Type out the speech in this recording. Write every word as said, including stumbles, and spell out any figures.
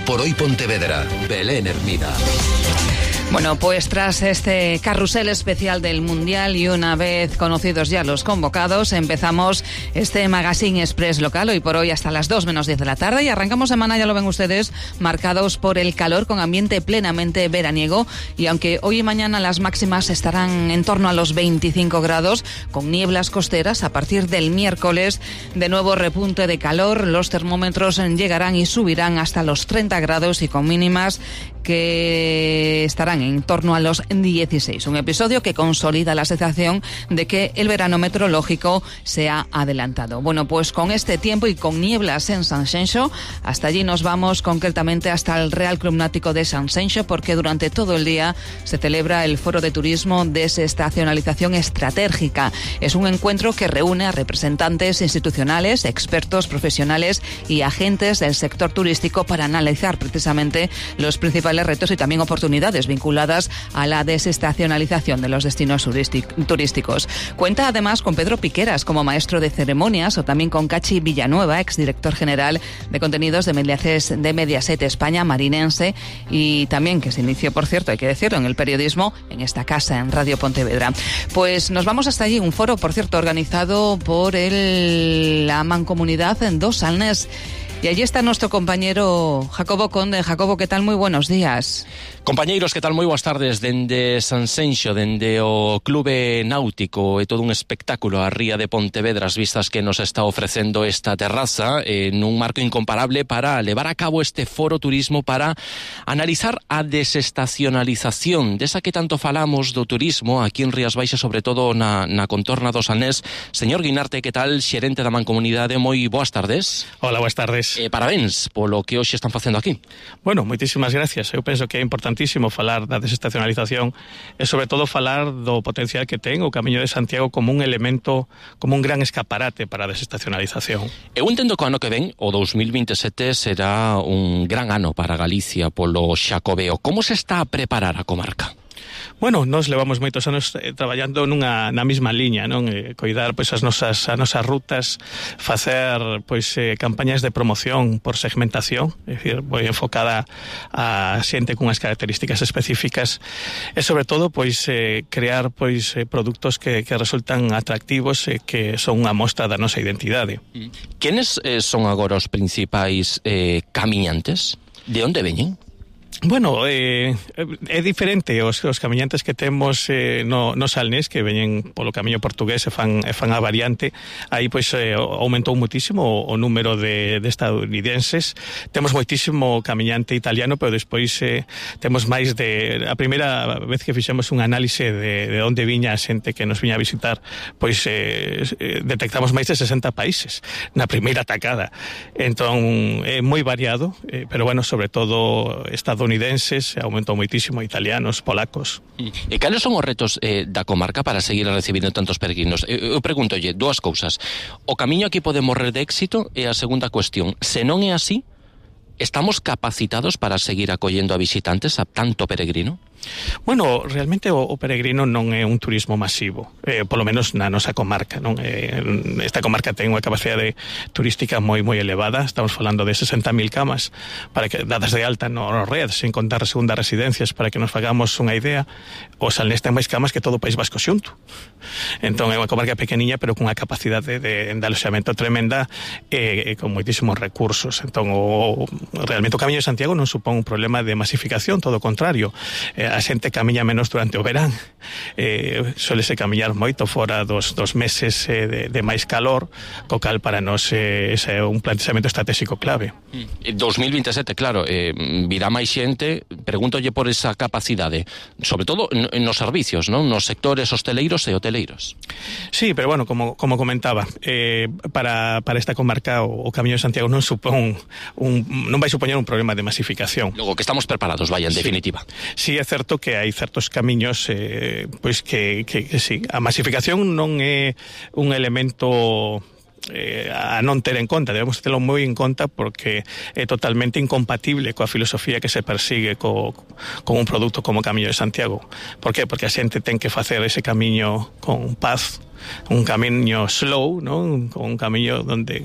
por Hoy Pontevedra, Belén Hermida. Bueno, pues tras este carrusel especial del Mundial y una vez conocidos ya los convocados, empezamos este Magazine Express local, hoy por hoy hasta las dos menos diez de la tarde, y arrancamos semana, ya lo ven ustedes, marcados por el calor, con ambiente plenamente veraniego, y aunque hoy y mañana las máximas estarán en torno a los veinticinco grados, con nieblas costeras, a partir del miércoles, de nuevo repunte de calor, los termómetros llegarán y subirán hasta los treinta grados y con mínimas que estarán en torno a los dieciséis. Un episodio que consolida la sensación de que el verano meteorológico se ha adelantado. Bueno, pues con este tiempo y con nieblas en Sanxenxo, hasta allí nos vamos, concretamente hasta el Real Club Náutico de Sanxenxo, porque durante todo el día se celebra el Foro de Turismo Desestacionalización Estratégica. Es un encuentro que reúne a representantes institucionales, expertos, profesionales y agentes del sector turístico para analizar precisamente los principales retos y también oportunidades vinculadas a la desestacionalización de los destinos turísticos. Cuenta además con Pedro Piqueras como maestro de ceremonias, o también con Cachi Villanueva, exdirector general de contenidos de Mediaset, de Mediaset España, marinense, y también que se inició, por cierto, hay que decirlo, en el periodismo en esta casa, en Radio Pontevedra. Pues nos vamos hasta allí, un foro, por cierto, organizado por el, la Mancomunidad en Dos Salnés. Y allí está nuestro compañero Jacobo Conde. Jacobo, ¿qué tal? Muy buenos días. Compañeiros, que tal? Moi boas tardes. Dende Sanxenxo, dende o Clube Náutico, é todo un espectáculo a ría de Pontevedra, as vistas que nos está ofrecendo esta terraza, en un marco incomparable para levar a cabo este foro turismo, para analizar a desestacionalización desa que tanto falamos do turismo aquí en Rías Baixas, sobre todo na, na contorna do Salnés. Señor Guinarte, que tal? Xerente da Mancomunidade, moi boas tardes. Hola, boas tardes. Eh, parabéns polo que hoxe están facendo aquí. Bueno, moitísimas gracias. Eu penso que é importantísimo falar da desestacionalización e sobre todo falar do potencial que ten o Camiño de Santiago como un elemento, como un gran escaparate para a desestacionalización. Eu entendo que o ano que ven, o dos mil veintisiete, será un gran ano para Galicia polo Xacobeo. Como se está a preparar a comarca? Bueno, nós levamos moitos anos eh, traballando nunha na mesma liña, non? Eh, coidar pois as nosas as nosas rutas, facer pois eh, campañas de promoción por segmentación, é dicir, moi enfocada a xente cunhas características específicas e sobre todo pois eh, crear pois eh, produtos que que resultan atractivos e eh, que son unha mostra da nosa identidade. Quenes eh, son agora os principais eh, camiñantes? De onde veñen? Bueno, eh, é diferente os, os camiñantes que temos eh, no, no Salnés, que veñen polo camiño portugués e fan, e fan a variante. Aí pois eh, aumentou muitísimo o, o número de, de estadounidenses. Temos moitísimo camiñante italiano, pero despois eh, temos máis de... A primeira vez que fixemos un análise de, de onde viña a xente que nos viña a visitar, pois eh, detectamos máis de sesenta países na primeira atacada. Entón, é moi variado, eh, pero bueno, sobre todo estadounidenses, aumentou moitísimo, italianos, polacos. E cales son os retos eh, da comarca para seguir recibindo tantos peregrinos? Eu, eu pregúntolle dúas cousas. O camiño aquí pode morrer de éxito, e a segunda cuestión, se non é así, estamos capacitados para seguir acollendo a visitantes, a tanto peregrino? Bueno, realmente o, o peregrino non é un turismo masivo, eh, polo menos na nosa comarca, non? Eh, esta comarca ten unha capacidade turística moi moi elevada, estamos falando de sesenta mil camas para que dadas de alta no red, sen contar segundas residencias, para que nos fagamos unha idea. O Salnés ten máis camas que todo o País Vasco xunto. Entón é unha comarca pequeniña, pero cunha capacidade de, de aloxamento tremenda e, e con moitísimos recursos. Entón o, realmente o Camiño de Santiago non supón un problema de masificación, todo o contrario. Eh, a xente camiña menos durante o verán, eh, solese camiñar moito fora dos, dos meses eh, de, de máis calor, co cal para nós eh, ese é un planteamento estratégico clave. dos mil veintisiete, claro, eh, virá máis xente, pregúntolle por esa capacidade, sobre todo nos servicios, non? Nos sectores hosteleiros e hoteleiros. Sí, pero bueno, como, como comentaba, eh, para, para esta comarca o, o Camiño de Santiago non supón un, non vai supoñer un problema de masificación. Logo que estamos preparados, vaya, en sí. definitiva. Sí, é certo que hai certos camiños eh, pois que, que, que sí, a masificación non é un elemento eh, a non ter en conta, debemos terlo moi en conta porque é totalmente incompatible coa filosofía que se persigue co, con un produto como Camiño de Santiago. Por qué? Porque a xente ten que facer ese camiño con paz, un camiño slow, ¿no? Un camiño donde